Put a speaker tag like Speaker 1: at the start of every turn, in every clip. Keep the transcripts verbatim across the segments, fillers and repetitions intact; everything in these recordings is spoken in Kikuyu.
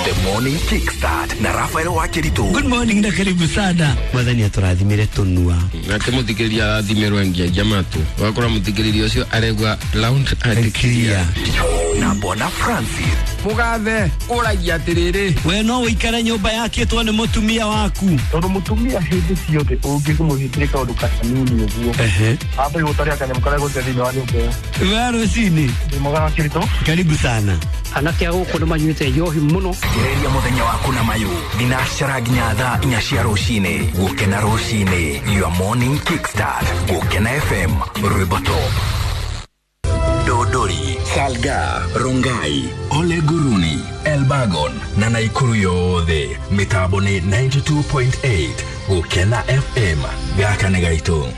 Speaker 1: The Morning Kickstart na Rafael Wakiritu.
Speaker 2: Good morning na karibu sana. Mwathani atũrathimire tũnua.
Speaker 3: Nake mũthikĩrĩria arathimĩrwo ngiagia matũ. Wakora mũthikĩrĩria ũcio aregwa loud and clear.
Speaker 1: Na Bwana Francis.
Speaker 4: Mugathe ũragia atĩrĩrĩ.
Speaker 2: We no ũikare nyũmba yakĩtwo nĩ mũtumia waku.
Speaker 5: Tondũ mũtumia hĩndĩ ciothe ũngĩmũhĩtĩria kaũndũ kanini ũguo.
Speaker 2: Ehe.
Speaker 5: Ambe gũtaria kanyamũ karĩa gũte thĩinĩ wa nyũmba ĩyo.
Speaker 2: We rũcinĩ.
Speaker 5: Ndĩ mwega Wakiritu.
Speaker 2: Karibu sana.
Speaker 6: Anake a gũkũ nĩ manyuĩte njohi mũno.
Speaker 1: Gereria mũthenya waku na mayũ thinacara nginya thaa inya cia rũcinĩ. Gũkena rũcinĩ, your morning kickstart. Gũkena F M, rwĩmbo top. Dodori, Salga, Rongai, Ole Guruni, Elbagon na Naikuru yothe. Mitambo ni ninety-two point eight Gũkena F M. Gaka nĩ gaitũ.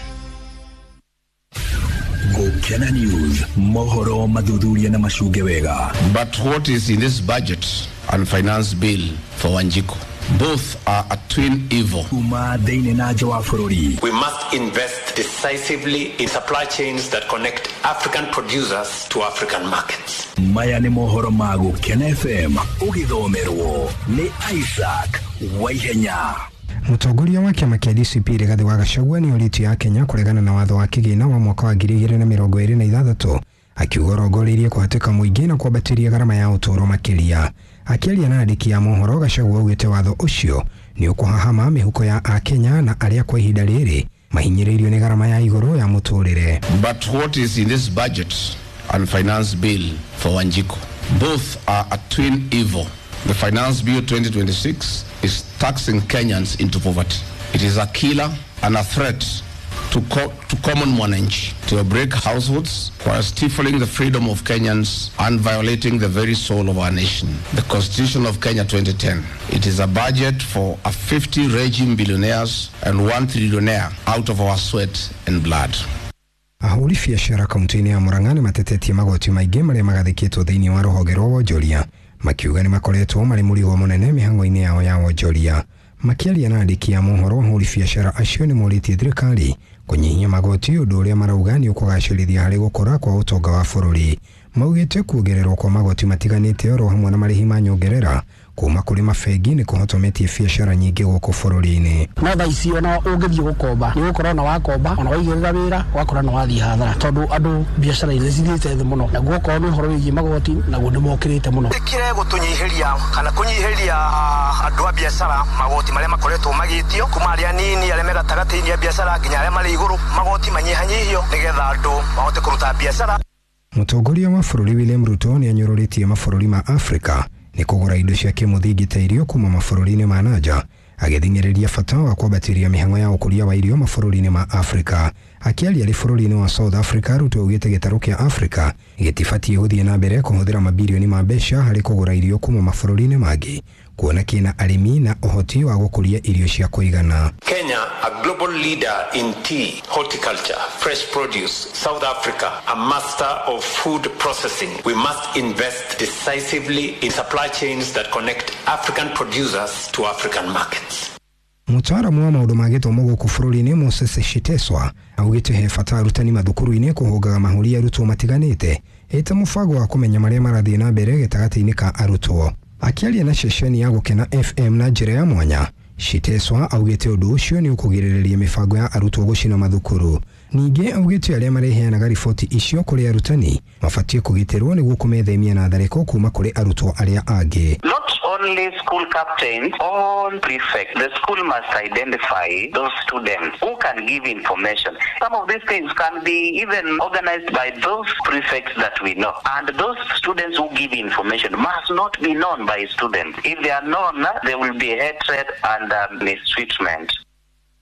Speaker 1: Gũkena News, mohoro mathuthuria na macunge wega.
Speaker 3: But what is in this budget and finance bill for Wanjiku? Both are a twin evil.
Speaker 1: Kuma thĩinĩ na nja wa bũrũri.
Speaker 7: We must invest decisively in supply chains that connect African producers to African markets.
Speaker 1: Maya nĩ mohoro ma Gũkena F M, ũgĩthomerwo nĩ Isaac Waihenya.
Speaker 8: Mũtongoria wa kĩama kĩa D C P Rigathĩ wa Gachagua nĩ orĩtie ya Kenya kũregana na watho wa kĩgĩna wa mwaka wa ngiri igĩrĩ na mĩrongo ĩrĩ na ithathatũ, akiuga ũrongoreirie kũhatĩka mũingĩ na kwambatĩria gharama ya ũtũũro makĩria. Akĩaria na andĩki a mohoro, Gachagua augĩte watho ũcio nĩ ũkũhahama mĩhuko ya Akenya na arĩa kwa ihinda rĩrĩ mahinyĩrĩirio nĩ gharama ya igũrũ ya mũtũrĩre.
Speaker 3: But what is in this budget and finance bill for Wanjiku? Both are a twin evil. The Finance Bill twenty twenty-six is taxing Kenyans into poverty. It is a killer and a threat to, co- to common mwananchi, to break households while stifling the freedom of Kenyans and violating the very soul of our nation. The Constitution of Kenya twenty ten. It is a budget for a fifty regime billionaires and one trillionaire out of our sweat and blood.
Speaker 8: Ahũri biacara kaunti-inĩ ya Murang'a nĩ matetetie magoti maingĩ marĩa magathĩkĩtwo thĩinĩ wa rũhonge rwa wonjoria, makiuga nĩ makoretwo marĩ mũrigo mũnene mĩhang'o-inĩ yao ya wonjoria. Makĩaria na andĩki a mohoro, ahũri biacara acio nĩ morĩtie thirikari kũnyihia magoti, ũndũ ũrĩa marauga nĩ ũkũgacĩrithia harĩ gũkũra kwa ũtonga wa bũrũri. Maugĩte kuongererwo kwa magoti matiganĩte oro hamwe na marĩhi ma nyongerera kuma kũrĩ mabengi nĩ kũhotometie biacara nyingĩ gũkũ bũrũri-inĩ.
Speaker 6: No thaa ici ona ũngĩthiĩ gũkomba nĩ ũgũkorwo na wakomba ona waigĩrĩra wĩra ũgakora nĩ wathiĩ hathara, tondũ andũ biacara iria cithiĩte thĩ mũno, naguo okorwo nĩ ũhoro wĩgiĩ magoti naguo nĩ mokĩrĩte mũno.
Speaker 9: Ĩkĩre gũtũnyihĩria kana kũnyihĩria andũ a biacara magoti marĩa makoretwo magĩtio kuma arĩa nini arĩa me gatagatĩ-inĩ a biacara nginya arĩa marĩ igũrũ, magoti manyihanyihio nĩgetha andũ mahote kũruta biacara.
Speaker 8: Mũtongoria wa bũrũri William Ruto nĩ anyũrũrĩtie mabũrũri ma Afrika nĩ kũgũra indo cia kĩmũthingi ta irio kuma mabũrũri-inĩ ma nanja, agĩthing'ĩrĩria bata wa kwambatĩria mĩhang'o ya ũkũria wa irio mabũrũri-inĩ ma Afrika. Akĩaria arĩ bũrũri-inĩ wa South Africa, Ruto augĩte gĩtarũ kĩa Afrika gĩtibatiĩ gũthiĩ na mbere kũhũthĩra mabirioni ma mbeca harĩ kũgũra irio kuma mabũrũri-inĩ mangĩ, kuona kĩna arĩmi na ũhoti wa gũkũria irio cia kũigana.
Speaker 7: Kenya, a global leader in tea, horticulture, fresh produce. South Africa, a master of food processing. We must invest decisively in supply chains that connect African producers to African markets.
Speaker 8: Mũtaaramu wa maũndũ ma gĩthomo gũkũ bũrũri-inĩ Moses Shiteswa augĩte he bata arutani mathukuru-inĩ kũhũngaga mahũri arutwo matiganĩte ĩta mũbango wa kũmenya marĩa marathiĩ na mbere gĩtagatĩ-inĩ ka arutwo. Akĩaria na ceceni ya Gũkena F M na njĩra ya mwanya, Shiteswa augĩte ũndũ ũcio nĩ ũkũgirĩrĩria mĩbango ya arutwo gũcina mathukuru. Ningĩ augĩte arĩa mareheanaga riboti icio kũrĩ arutani mabatiĩ kũgitĩrwo nĩguo kũmethemia na tharĩko kuma kũrĩ arutwo arĩa angĩ.
Speaker 10: Not only school captains, all prefects. The school must identify those students who can give information. Some of these things can be even organized by those prefects that we know. And those students who give information must not be known by students. If they are known, there will be hatred and uh, mistreatment.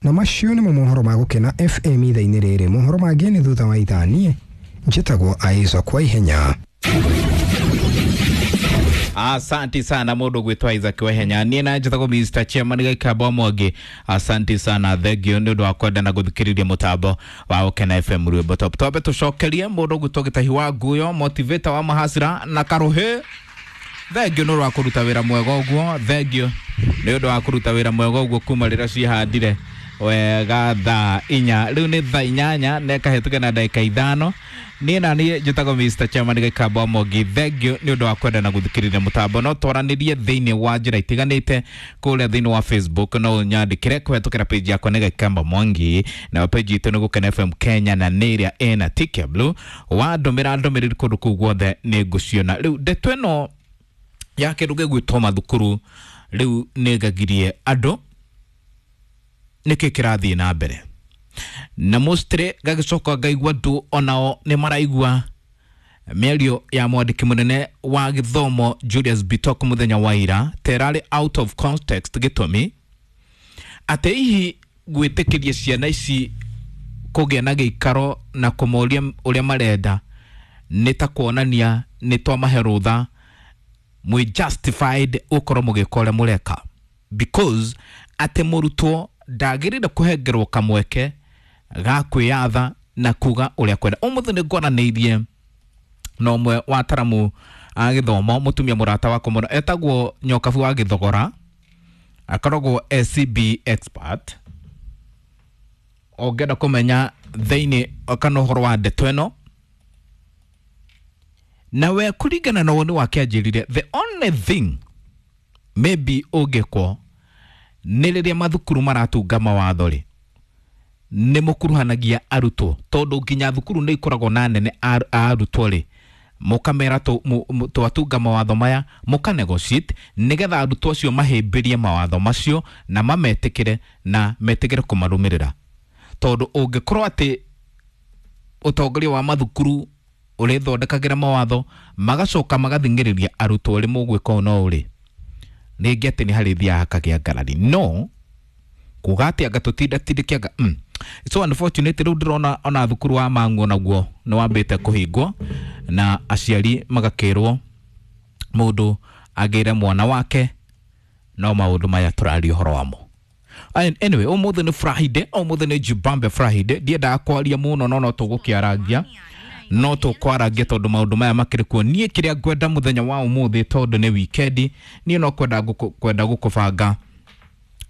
Speaker 8: Na macio nĩmo mohoro ma Gũkena F M ithaa-inĩ rĩrĩ. Mohoro mangĩ nĩ thutha wa ithaa. Niĩ njĩtagwo Isaac Waihenya.
Speaker 11: Asante sana mundu gwitwa Isaac Waihenya. Niĩ na njĩtagwo Mister Chairman Gĩkamba Mwangi. Asante sana, thengio nĩ ũndũ wa kwenda na gũthikĩrĩria mũtambo wa Gũkena F M rwĩmbo top. Twambe tũcokerie mũndũ gwitwo Gĩtahi wa Nguyo, motivator wa mahasira na Karuhĩ. Thengio nĩ ũndũ wa kũruta wĩra mwega ũguo, thengio nĩ ũndũ wa kũruta wĩra mwega ũguo kuma rĩrĩa cihandire. Wega thaa inya rĩu nĩ thaa inyanya na ĩkahĩtũka na ndagĩka ithano. Niĩ na niĩ njĩtagwo Mister Chairman Gĩkamba Mwangi. Thank you nĩ ũndũ wa kwenda na gũthikĩrĩria mũtambo. No twaranĩrie thĩinĩ wa njĩra itiganĩte kũrĩa thĩinĩ wa Facebook, no ũnyandĩkĩre kũhetũkĩra page yakwa nĩ Gĩkamba Mwangi, na page itũ nĩ Gũkena F M Kenya na nĩ ĩrĩa ĩna tick blue. Wandũmĩra ndũmĩrĩri kũndũ kũu guothe nĩ ngũciona. Rĩu ndeto ĩno ya kĩndũ gĩgwĩtwo mathukuru rĩu nĩ ngagirie andũ nĩkĩ kĩrathiĩ na mbere, na mostly gagĩcoka ngaigua andũ onao nĩ maraigua mĩario ya mwandĩki mũnene wa gĩthomo Julius Bitok mũthenya wa ira terarĩ out of context, gĩtũmi atĩ hihi gwĩtĩkĩria ciana ici kũgĩa na gĩikaro na kũmoria ũrĩa marenda nĩ ta kuonania nĩ twamahe rũtha mwĩ justified ũkorwo mũgĩka ũrĩa mũreka, because atĩ mũrutwo ndagĩrĩire kũhengerwo kamweke ga kwĩyatha na kuga ũrĩa kwenda. Ũmũthĩ nĩ ngwaranĩirie na ũmwe wa ataramu a gĩthomo, mũtumia mũrata wakwa mũno etagwo Nyokabu wa Gĩthogora, akoragwo S C B expert. Ũngĩenda kũmenya thĩinĩ kana ũhoro wa ndeto ĩno na we kũringana na woni wake anjĩrire the only thing maybe ũngĩkwo nĩ rĩrĩa mathukuru maratunga mawatho rĩ, nĩ mũkuruhanagia arutwo, tondũ nginya thukuru nĩ ikoragwo na nene a arutwo rĩ, mũkamera twatunga mawatho maya, mũka negotiate nĩgetha arutwo acio mahĩmbĩrie mawatho macio na mametĩkĩre na metĩkĩre kũmarũmĩrĩra, tondũ ũngĩkorwo atĩ ũtongoria wa mathukuru ũrĩthondekagĩra mawatho magacoka magathing'ĩrĩria arutwo ũrĩ mũgwĩka ũũ no ũrĩ rĩngĩ atĩ nĩ harĩ thiaga hakagĩa ngarari no kuga atĩ anga tũtindatindĩke anga mm. So unfortunately rĩu ndĩrona ona thukuru wa Mang'u naguo nĩ wambĩte kũhingwo na aciari magakĩrwo mũndũ agĩre mwana wake, no maũndũ maya tũraria ũhoro wamo. Anyway, ũmũthĩ nĩ Friday, ũmũthĩ nĩ Jibambe Friday. Ndiendaga kwaria mũno no no tũgũkĩarangia no tũkwarangia tondũ maũndũ maya makĩrĩ kuo. Niĩ kĩrĩa ngwenda mũthenya wa ũmũthĩ, tondũ nĩ weekend, niĩ no kwenda kwenda gũkũbanga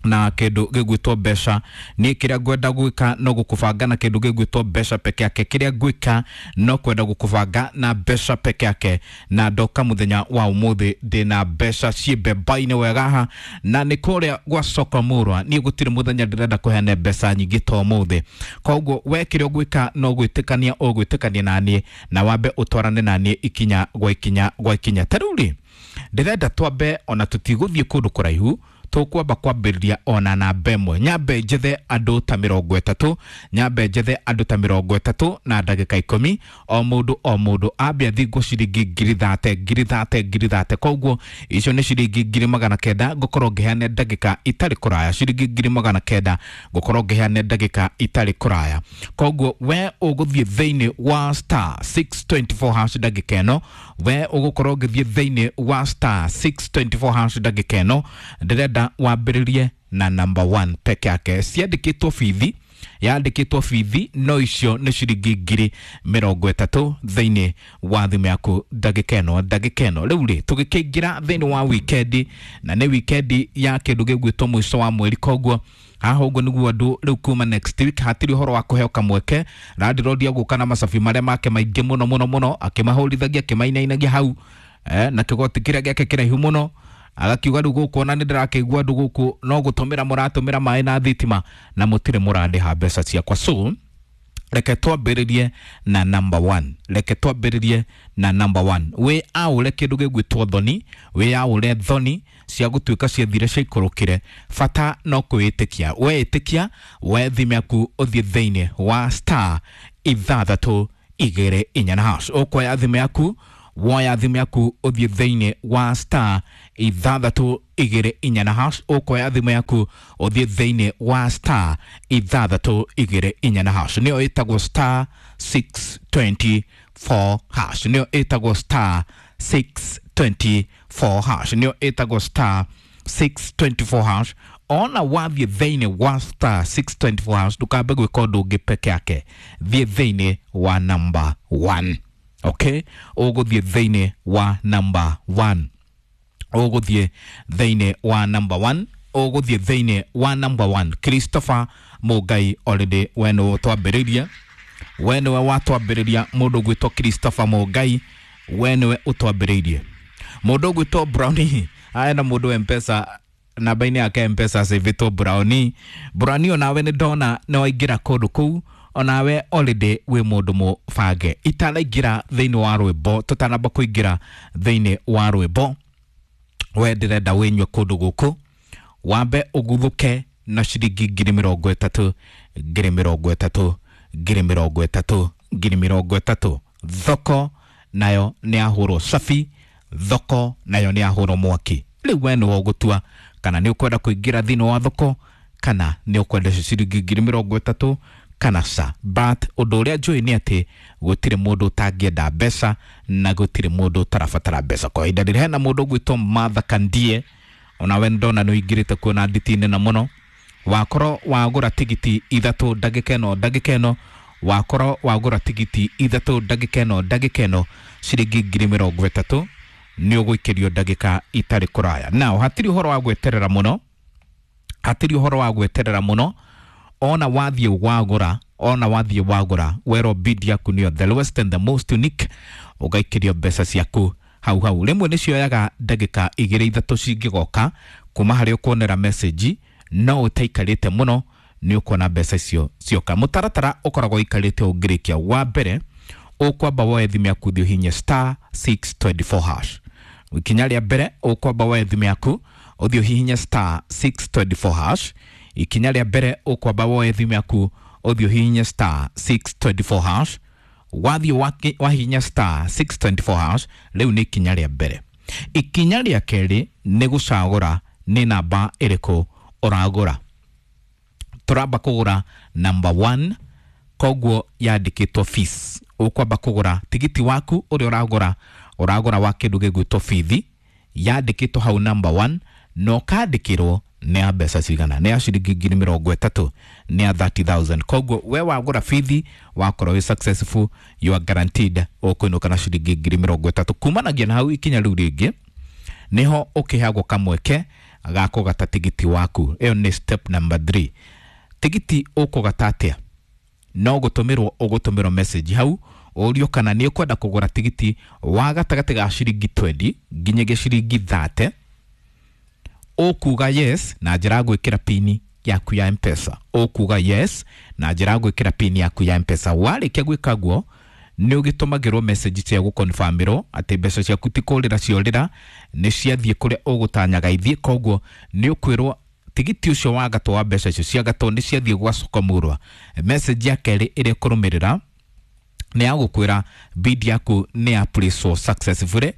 Speaker 11: na kĩndũ gĩgwĩtwo mbeca. Niĩ kĩrĩa ngwenda gwĩka no gũkũbanga na kĩndũ gĩgwĩtwo mbeca peke yake. Kĩrĩa ngwĩka no kwenda gũkũbanga na mbeca peke yake, na ndoka mũthenya wa ũmũthĩ ndĩna mbeca ciĩ mbemba-inĩ wega haha, na nĩ kũrĩa gwa soko mũrwa. Niĩ gũtirĩ mũthenya ndĩrenda kũheana mbeca nyingĩ ta ũmũthĩ, koguo we kĩrĩa ũgwĩka no gwĩtĩkania ũgwĩtĩkania naniĩ na wambe ũtwarane naniĩ ikinya gwa ikinya gwa ikinya. Ta rĩu rĩ, ndĩrenda twambe ona tũtigũthiĩ kũndũ kũraihu, tũkwamba kwambĩrĩria ona namba ĩmwe. Nyambe njethe andũ ta mĩrongo ĩtatũ, nyambe njethe andũ ta mĩrongo ĩtatũ na ndagĩka ikũmi, o mũndũ o mũndũ ambe athingwo ciringi ngiri thate, ngiri thate, ngiri thate. Koguo icio nĩ ciringi ngiri magana kenda ngũkorwo ngĩheana ndagĩka itarĩ kũraya, ciringi ngiri magana kenda ngũkorwo ngĩheana ndagĩka itarĩ kũraya. Koguo we ũgũthiĩ thĩinĩ wa star six two four hash ndagĩka ĩno, we ũgũkorwo ũgĩthiĩ thĩinĩ wa star six two four hash ndagĩka ĩno. Ndĩrenda wambĩrĩrie na number one peke yake. Ciandĩkĩtwo bithi, yandĩkĩtwo bithi, no icio nĩ ciringi ngiri mĩrongo ĩtatũ thĩinĩ wa thimũ yaku ndagĩka ĩno, ndagĩka ĩno. Rĩu rĩ, tũgĩkĩingĩra thĩinĩ wa weekend, na nĩ weekend ya kĩndũ gĩgwĩtwo mũico wa mweri, koguo haha ũguo nĩguo andũ rĩu kuma next week hatirĩ ũhoro wa kũheo kamweke. Landlord agũka na macabi marĩa make maingĩ mũno mũno mũno, akĩmahũrithagia, akĩmainainagia hau eh, na kĩgoti kĩrĩa gĩake kĩraihu mũno, agakiuga rĩu gũkũ ona nĩ ndĩrakĩigua andũ gũkũ no gũtũmĩra mũratũmĩra maĩ na thitima na mũtirĩ mũrandĩha mbeca ciakwa. So reke twambĩrĩrie na number one, reke twambĩrĩrie na number one. Wĩ aũre kĩndũ gĩgwĩtwo thoni, wĩ aũre thoni cia gũtuĩka ciathire ciaikũrũkire, bata no kwĩĩtĩkia. Weĩtĩkia, we thimũ yaku ũthiĩ thĩinĩ wa star ithathatũ igĩrĩ inya na hash. Ũkuoya thimũ yaku, woya thimũ yaku ũthiĩ thĩinĩ wa star ithathatũ igĩrĩ inya na hash. Ũkuoya thimũ yaku ũthiĩ thĩinĩ wa star ithathatũ igĩrĩ inya na hash, nĩyo ĩtagwo star six two four hash, nĩyo ĩtagwo star six two four hash, nĩyo ĩtagwo star six two four hash. Ona wathiĩ thĩinĩ wa star six two four hash, ndũkambe gwĩka ũndũ ũngĩ peke yake, thiĩ thĩinĩ wa number one. Okay, ũgũthiĩ thĩinĩ wa number one, ũgũthiĩ thĩinĩ wa number one, Ũgũthiĩ thĩinĩ wa number one Christopher Mũngai. Already we nĩwe ũtwambĩrĩirie, we nĩwe watwambĩrĩria. Mũndũ ũgwĩtwo Christopher Mũngai, we nĩwe ũtwambĩrĩirie. Mũndũ ũgwĩtwo Brownie aya na mũndũ wa Mpesa, namba-inĩ yake Mpesa acĩvĩtwo Brownie. Brownie, onawe nĩ ndona nĩ waingĩra kũndũ kũu, onawe already wĩ mũndũ mũbange. Itanaingĩra thĩinĩ wa rwĩmbo, tũtanamba kũingĩra thĩinĩ wa rwĩmbo, we ndĩrenda wĩnyue kũndũ gũkũ wambe ũguthũke na ciringi ngiri mĩrongo ĩtatũ, ngiri mĩrongo ĩtatũ, ngiri mĩrongo ĩtatũ, ngiri mĩrongo ĩtatũ. Thoko nayo nĩ yahũrwo safi, thoko nayo nĩ yahũrwo mwaki. Rĩu we nĩwe ũgũtua kana nĩ ũkwenda kũingĩra thĩinĩ wa thoko kana nĩ ũkwenda ciringi ngiri mĩrongo ĩtatũ kana ca. But ũndũ ũrĩa njũĩ nĩ atĩ gũtirĩ mũndũ ũtangĩenda mbeca na gũtirĩ mũndũ ũtarabatara mbeca kwa ihinda rĩrĩ. Hena mũndũ ũgwĩtwo Martha Kandie, onawe ndona nĩ ũingĩrĩte kuona nditi na mũno. Wakorwo wagũra tigiti ithatũ ndagĩka ĩno, ndagĩka ĩno wakorwo wagũra tigiti ithatũ ndagĩka ĩno, ndagĩka ĩno ciringi ngiri mĩrongo ĩtatũ nĩ ũgũikĩrio ndagĩka itarĩ kũraya. Now hatirĩ ũhoro wa gweterera mũno, hatirĩ ũhoro wa gweterera mũno. Ona wathiĩ wagũra, ona wathiĩ wagũra, werwo bid yaku nĩyo the lowest and the most unique, ũgaikĩrio mbeca ciaku hau hau. Rĩmwe nĩ cioyaga ndagĩka igĩrĩ ithatũ cingĩgoka kuma harĩa ũkuonera message, no ũtaikarĩte mũno nĩ ũkuona mbeca icio cioka. Mũtaratara ũkoragwo ũikarĩte ũngĩrĩkia. Wa mbere ũkwamba woe thimũ yaku ũthiĩ ũhihinye star six twenty four hash. Ikinya rĩa mbere ũkwamba woe thimũ yaku ũthiĩ ũhihinye star six twenty four hash. Ikinya rĩa mbere ũkwamba woe thimũ yaku ũthiĩ ũhihinye star six twenty four hash. Wathiĩ wahihinya star six twenty four hash, rĩu nĩ ikinya rĩa mbere. Ikinya rĩa kerĩ nĩ gũcagũra nĩ namba ĩrĩkũ ũragũra. Tũramba kũgũra number one, koguo yandĩkĩtwo fees. Ũkwamba kũgũra tigiti waku ũrĩa ũragũra, ũragũra wa kĩndũ gĩgwĩtwo bithi, yandĩkĩtwo hau number one, na ũkandĩkĩrwo nĩ ya mbeca cigana, nĩ ya ciringi ngiri mĩrongo ĩtatũ, nĩ ya thirty thousand. Koguo we wagũra bithi wakorwo wĩ successful, you are guaranteed ũkũinũka na ciringi ngiri mĩrongo ĩtatũ. Kumanagia na hau ikinya rĩu rĩngĩ nĩho ũkĩheagwo kamweke ga kũgata tigiti waku. Ĩyo nĩ step number three. Tigiti ũkũgata atĩa? No gũtũmĩrwo ũgũtũmĩrwo message hau ũrio kana nĩ ũkwenda kũgũra tigiti wa gatagatĩ ga ciringi twenty nginyagia ciringi thirty. Ũkuga yes na njĩra ya gwĩkĩra pini yaku ya Mpesa. Ũkuga yes na njĩra ya gwĩkĩra pini yaku ya Mpesa. Warĩkia gwĩka guo nĩ ũgĩtũmagĩrwo message cia gũconfirmĩrwo atĩ mbeca ciaku ti kũrĩra ciorĩra, nĩ ciathiĩ kũrĩa ũgũtanyaga ithiĩ. Koguo nĩ ũkwĩrwo tigiti ũcio wa gatũ wa mbeca icio cia gatũ nĩ ciathiĩ gwa Soko-Mũrwa. Message ya kerĩ ĩrĩa ĩkũrũmĩrĩra nĩ ya gũkwĩra bid yaku nĩ ya place successfully.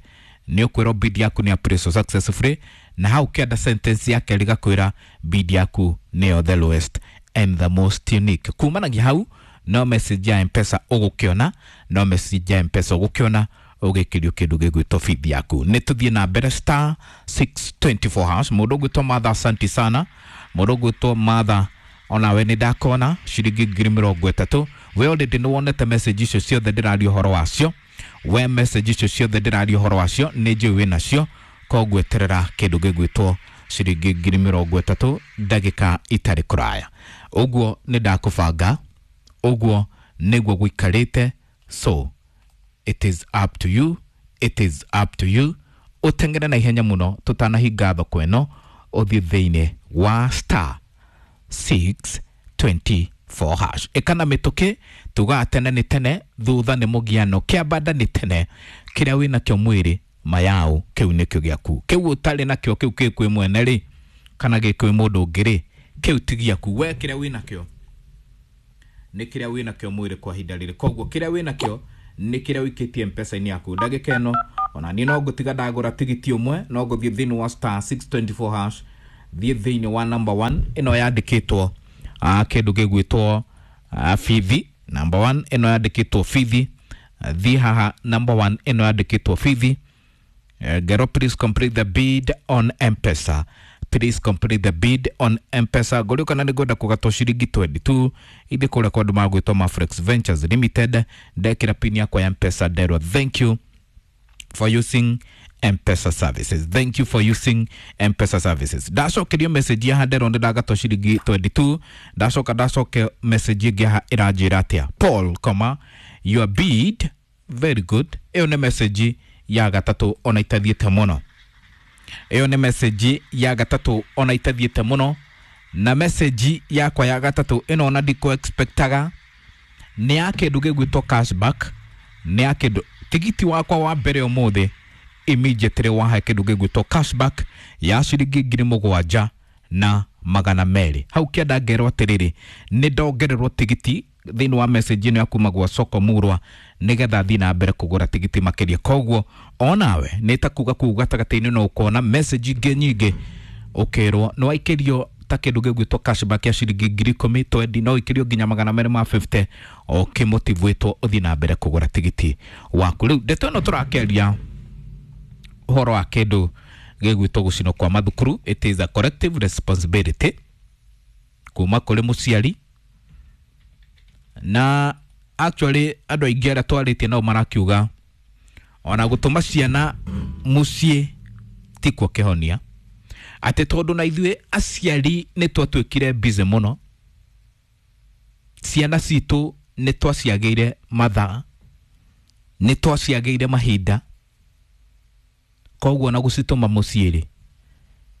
Speaker 11: Nĩ ũkwĩrwo bid yaku nĩ ya place successfully, na hau kĩanda sentence ya kerĩ gakwĩra bid yaku nĩyo the lowest and the most unique. Kumanagia hau no message ya Mpesa ũgũkĩona, no message ya Mpesa ũgũkĩona ũgĩkĩrio kĩndũ gĩgwĩtwo feed yaku. Nĩ tũthiĩ na mbere star six twenty four hash. Mũndũ ũgwĩtwo Martha, asante sana. Mũndũ ũgwĩtwo Martha, onawe nĩ ndakona ciringi ngiri mĩrongo ĩtatũ. We already nĩ wonete message icio ciothe ndĩraria ũhoro wacio. We message icio ciothe ndĩraria ũhoro wacio nĩ njũĩ wĩ nacio, koguo eterera kĩndũ gĩgwĩtwo ciringi ngiri mĩrongo ĩtatũ ndagĩka itarĩ kũraya. Ũguo nĩ ndakũbanga, ũguo nĩguo gũikarĩte. So it is up to you, it is up to you. Ũteng'ere na ihenya mũno tũtanahinga thoko ĩno, ũthiĩ thĩinĩ wa star six twenty four hash. Ĩkana mĩtũkĩ, tugaga tene nĩ tene, thutha nĩ mũgiano, kĩambanda nĩ tene. Kĩrĩa wĩnakĩo mwĩrĩ mayau kĩu nĩkĩo gĩaku, kĩu ũtarĩ nakĩo kĩu kĩ kwĩ mwene rĩ kana gĩ kwĩ mũndũ ũngĩ rĩ, kĩu ti gĩaku. We kĩrĩa wĩnakĩo nĩ kĩrĩa wĩnakĩo mwĩrĩ kwa ihinda rĩrĩ. Koguo kĩrĩa wĩnakĩo nĩ kĩrĩa ũikĩtie Mpesa-inĩ yaku. Ndagĩka ĩno ona niĩ no ngũtiga ndagũra tigiti ũmwe, no ngũthiĩ thĩinĩ wa star six twenty four hash, thiĩ thĩinĩ wa number one ĩno yandĩkĩtwo kĩndũ gĩgwĩtwo bithi. Number one ĩno yandĩkĩtwo bithi, thiĩ haha number one ĩno yandĩkĩtwo bithi. Gero, please complete the bid on Mpesa. Please complete the bid on Mpesa. Ngũrio kana nĩ ngwenda kũgatwo ciringi twenty two ithiĩ kũrĩa kwa andũ magwĩtwo Mafrex Ventures Limited. Ndekĩra pin yakwa ya Mpesa nderwo thank you for using M-Pesa services. Thank you for using M-Pesa services. Ndacokerio message ya nderonde ndagatwo ciringi twenty-two. Ndacoka ndacoke message ĩngĩ haha ĩranjĩra atĩa, Paul comma your bid very good. Ĩyo nĩ message ya gatatũ ona itathiĩte mũno. Ĩyo nĩ message ya gatatũ ona itathiĩte mũno. Na message yakwa ya gatatũ ĩno ona ndikũ expectaga nĩ ya kĩndũ gĩgwĩtwo cashback, nĩ ya kĩndũ tigiti wakwa wa mbere ũmũthĩ immediately wahe kĩndũ gĩgwĩtwo cashback ya ciringi ngiri mũgwanja na magana merĩ. Hau kĩanda ngerwo atĩrĩrĩ, nĩ ndongererwo tigiti thĩinĩ wa message ĩno ya kuma gwa Soko Murwa nĩgetha thiĩ na mbere kũgũra tigiti makĩria. Koguo onawe nĩ ta kuga kuu gatagatĩ-inĩ no ũkona message ingĩ nyingĩ ũkĩrwo nĩ waikĩrio ta kĩndũ gĩgwĩtwo cashback ya ciringi ngiri ikũmi twendi, no ikĩrio nginya magana merĩ ma fifty ũkĩmotivĩtwo ũthiĩ na mbere kũgũra tigiti waku. Rĩu ndeto ĩno tũrakĩaria ũhoro wa kĩndũ gĩgwĩtwo gũcinwo kwa mathukuru. It is a collective responsibility kuma kũrĩ mũciari, na actually andũ aingĩ arĩa twarĩtie nao marakiuga ona gũtũma ciana mũciĩ tikuo kĩhonia, atĩ tondũ na ithuĩ aciari nĩ twatuĩkire busy mũno, ciana citũ nĩ twaciagĩire mathaa, nĩ twaciagĩire mahinda, koguo na gũcitũma mũciĩ rĩ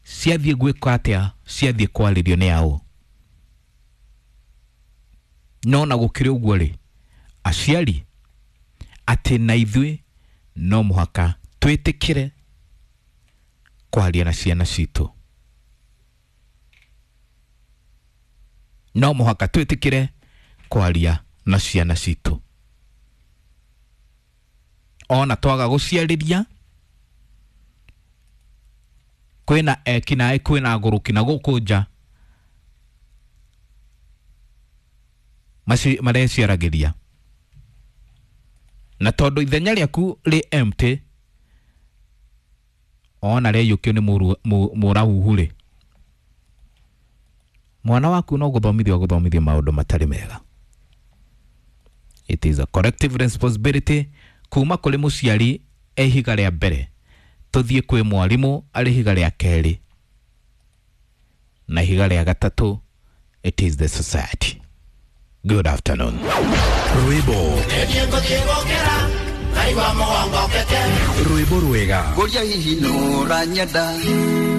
Speaker 11: ciathiĩ gwĩka atĩa, ciathiĩ kwarĩrio nĩ ao. No na gũkĩrĩ ũguo rĩ, aciari atĩ na ithuĩ no mũhaka twĩtĩkĩre kwaria na ciana citũ, no mũhaka twĩtĩkĩre kwaria na ciana citũ. Ona twaga gũciarĩria kwĩna ekinaĩ, kwĩna agũrũki na gũkũ nja mareciaragĩria, na tondũ ithenya rĩaku rĩ empty ona rĩaiyũkio nĩ mũrahuhu rĩ, mwana waku no gũthomithio agũthomithio maũndũ matarĩ mega. It is a collective responsibility kuma kũrĩ mũciari e ihiga rĩa mbere, tũthiĩ kwĩ mwarimũ arĩ ihiga rĩa kerĩ, na ihiga rĩa gatatũ it is the society. Good afternoon.
Speaker 1: Rwĩmbo rwĩmbo rwega
Speaker 12: Ngũria hihi nũranyenda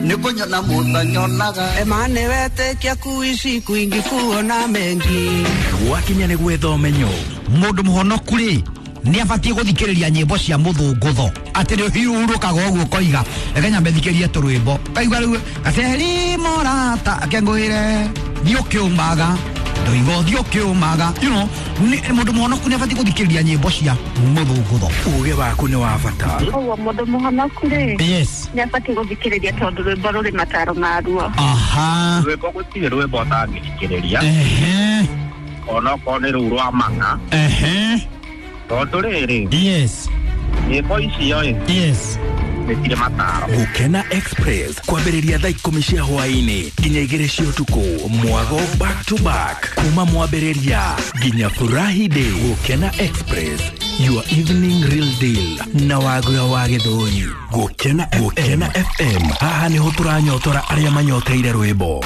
Speaker 12: nĩ kũnyona mũtanyonaga
Speaker 13: Emane wetĩkia kuishi kwingi kuona mengi
Speaker 1: gwakinya nĩ gwetha ũmenyo.
Speaker 2: Mũndũ mũhonoku rĩ nĩ abatiĩ gũthikĩrĩria nyĩmbo cia mũthũngũtho, atĩ nĩ ũhiũrũkaga ũguo ũkoiga reke nyambe thikĩrie tũrwĩmbo, kaigua rĩu gaceri morata akengũĩre thiĩ ũkĩũmaga ndoiga ũthiĩ ũkĩũmaga, you know, mũndũ mũhonoku nĩ abatiĩ gũthikĩrĩria nyĩmbo cia mũthũngũtho.
Speaker 1: Ũgĩ waku nĩ wa bata.
Speaker 14: Ũguo mũndũ mũhonoku rĩ,
Speaker 2: yes,
Speaker 14: nĩ abatiĩ gũthikĩrĩria tondũ rwĩmbo rũrĩ mataro maruo.
Speaker 2: Aha,
Speaker 15: rwĩmbo gũtirĩ rwĩmbo ũtangĩthikĩrĩria,
Speaker 2: ehe,
Speaker 15: onokorwo nĩ rũu rwa mang'a,
Speaker 2: ehe,
Speaker 15: tondũ rĩrĩ,
Speaker 2: yes,
Speaker 15: nyĩmbo icio ĩ,
Speaker 2: yes,
Speaker 15: nĩ mataro.
Speaker 1: Gũkena Express kwambĩrĩria thaa ikũmi cia hwaĩ-inĩ nginya igĩrĩ cia ũtukũ, mwago back to back kuma mwambĩrĩria nginya furahi day. Gũkena Express, your evening real deal na wagura wa Gĩthũri. Gũkena Gũkena F M, haha nĩho tũranyotora arĩa manyoteire rwĩmbo.